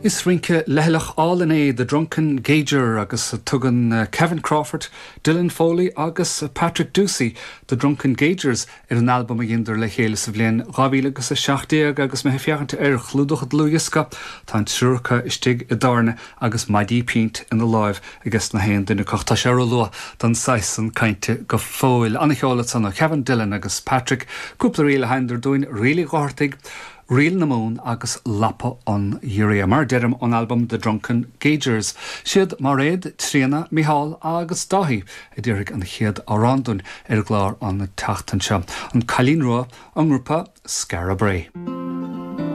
Is rince leithleach álainn é The Drunken Gauger agus tugann Kevin Crawford, Dylan Foley agus Patrick Ducey The Drunken Gaugers ar an albam a dheineadar le chéile sa bhliain 2017 agus mé ag féachaint ar chlúdach an dlúthdhiosca, tá an triúr acu istigh i dtábhairne agus maidí pínt ina láimh aige na haon duine acu. Tá sé ró-luath don saghas san cainte go fóill. Ana-cheol ansan ó Kevin, Dylan agus Patrick. Cúpla ríl a sheinneadar dúinn, Ríl Uí Dhochartaigh, Ríl na Mumhan agus Lapa an Ghiorria, mar a deirim, ón albam The Drunken Gaugers. Siad Máiréad, Tríona, Micheál agus Dáithí a déarfaidh an chéad amhrán dúinn ar an gclár an tseachtain seo, An Cailín Rua, ón ngrúpa Skara Brae.